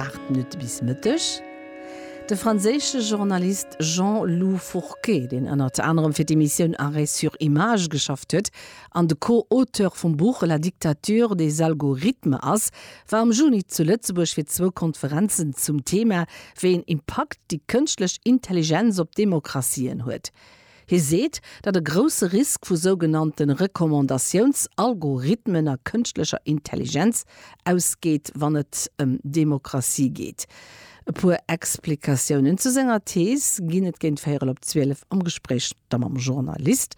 8 Minutte bis Mëtteg. De franséische Journalist Jean-Loup Fourquet, deen ënnert anerem fir d'Emissioun Arrêt sur images geschafft huet an de Co-Auteur vum Buch La dictature des algorithmes ass, war am Juni zu Lëtzebuerg fir zwou Konferenzen zum Thema, wéi een Impakt déi kënschtlech Intelligenz op d'Demokratien huet. Hie seet, datt e grousse Risk vu sougenannte Recommandatiounsalgorithmen a kënschtlecher Intelligenz ausgeet, wann et ëm Demokratie geet. E puer Explikatiounen zu senger Thees ginn et géint véierel op 12 am Gespréich da mam Journalist.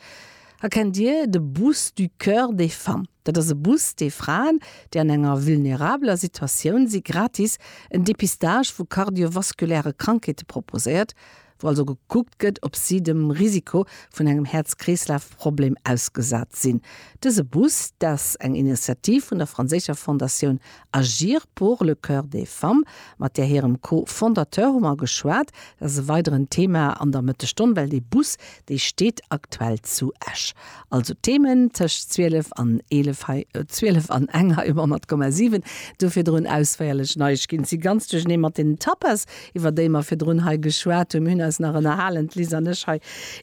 A kennt Dir de Bus du Coeur des Femmes? Dat ass e Bus, dee Fraen, déi an enger vulnerabeler Situatioun si, gratis en Depistage vu kardiovaskuläre Krankheete proposéiert. wou also gekuckt gëtt, ob si dem Risiko vun engem Häerz-Kreeslaf-Problem ausgesat sinn. Dëse Bus, dat ass eng Initiativ vun der franséischer Fondatioun Agir pour le cœur des femmes, mat där hirem Co-Fondateur hu mer geschwat. Dat ass e weideren Thema an der Mëttesstonn, well dee Bus, dee steet aktuell zu Esch. Also Themen tëscht 12 an 11 hei, 12 an eng hei um 100,7. Do virdrun ausféierlech Neiegkeeten. Si ganz duerchenee mat den Tapas, iwwer déi mer virdrun hei geschwat hunn. Mir hunn eis nach ënnerhalen, d'Liz an ech hei,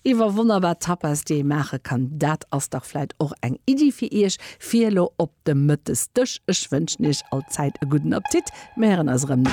iwwer wonnerbar Tapas, déi ee maache kann. Dat ass dach vläit och eng Iddi fir Iech, fir elo op de Mëttesdësch. Ech wënschen Iech allzäit e gudden Appetit. Mir héieren eis erëm.